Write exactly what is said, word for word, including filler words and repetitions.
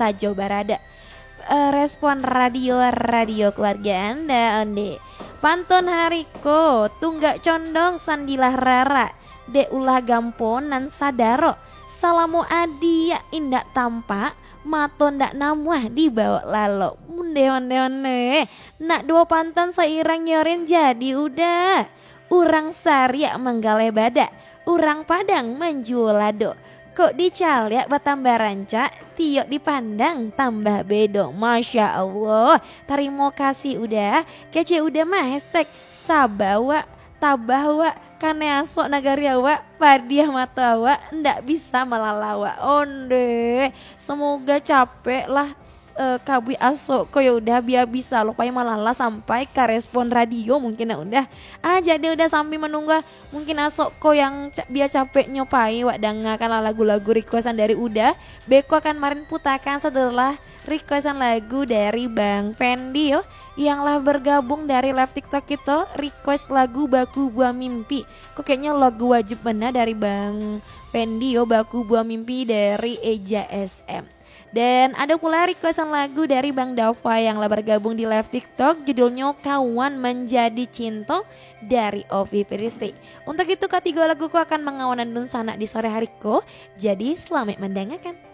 sajo barada. Eh, Respon Radio, radio keluarga anda, onde. Pantun hari ko, tunggak condong sandilah rara. Dek ulah gampo nan sadaro. Salamo adiak indak tampak, mato ndak namuah dibawok lalo. Onde, onde, onde. Nak duo pantun sairang yo rin jadi udah. Urang Sariak manggaleh badak, urang Padang manjuo lado. Kok dicaliak batambah rancak, tiok dipandang tambah bedo. Masya Allah. Tarimo kasih udah. Kecek udah mah hashtag saba wak, tabah wak, kanai asok nagari awak, padiah mato awak, ndak bisa malala wak. Onde. Semoga capek lah eh, kabuik asok ko yo udah, bia bisa lo pai malala sampai ka Respon Radio mungkin nak udah. Ah, jadi udah sambil menunggu, ah, mungkin asok ko yang ca- bia capeknyo pai wak dangakan lah lagu-lagu requestan dari udah. Beko akan marin putakan setelah requestan lagu dari Bang Fendi yo, yang lah bergabung dari live TikTok kito, request lagu Baku Buah Mimpi. Kok kayaknya lagu wajib benar dari Bang Fendi yo, Baku Buah Mimpi dari Eja S M. Dan ada pula requestan lagu dari Bang Dava yang lah bergabung di live TikTok, judulnyo Kawan Menjadi Cinta dari Ovi Firisti. Untuk itu, katigo lagu ko akan mangawanan dunsanak di sore hari ko. Jadi, selamat mendengarkan.